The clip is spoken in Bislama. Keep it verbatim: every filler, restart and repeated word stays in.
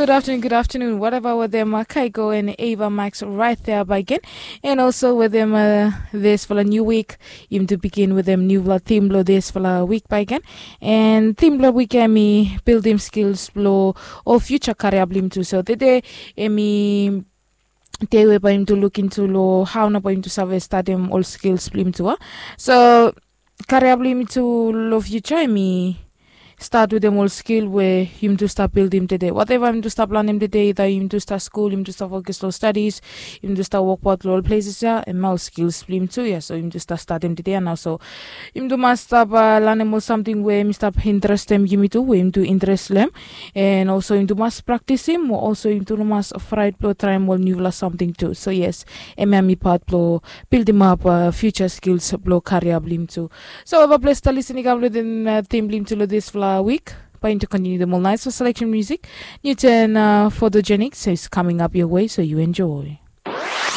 Good afternoon, good afternoon. Whatever with them, uh, Kaiko and Ava Max right there by again. And also with them, uh, this for a new week. Yum to begin with them new theme lo this for a week by again. And theme lo week emi build him skills lo or future career blim too. So today emi te we by him to look into lo how na by him to save start him all skills blim too. So karia blong yumi tu long future yumi stat wetem ol skil we yumi tu stap bildim tede. Wateva yumi tu stap lanem tede, ida yumi tu stap skul, yumi tu stap fokus long stadis, yumi tu stap wokbaot long ol pleses ya, em ya ol skils blong yumi tu ya. So yumi tu stap statem tede ya nao. So yumi tu mas stap lanem ol samting we mi stap interestem yumi tu, we yumi tu interes long em. En olso yumi tu mas praktisim, olso yumi tu no mas fraet blong traem ol niufala samting tu. So yes, em ya mi pat blong bildimap fiuja skils blong karia blong yumi tu. So eva ples ta lisin i kam long den tim blong yumi tu long disfala wik. Bae yumi tu kontiniu dem ol naes seleksen musik. Niu ten, fotojenik, so is kaming ap yoa we, so yu enjoe.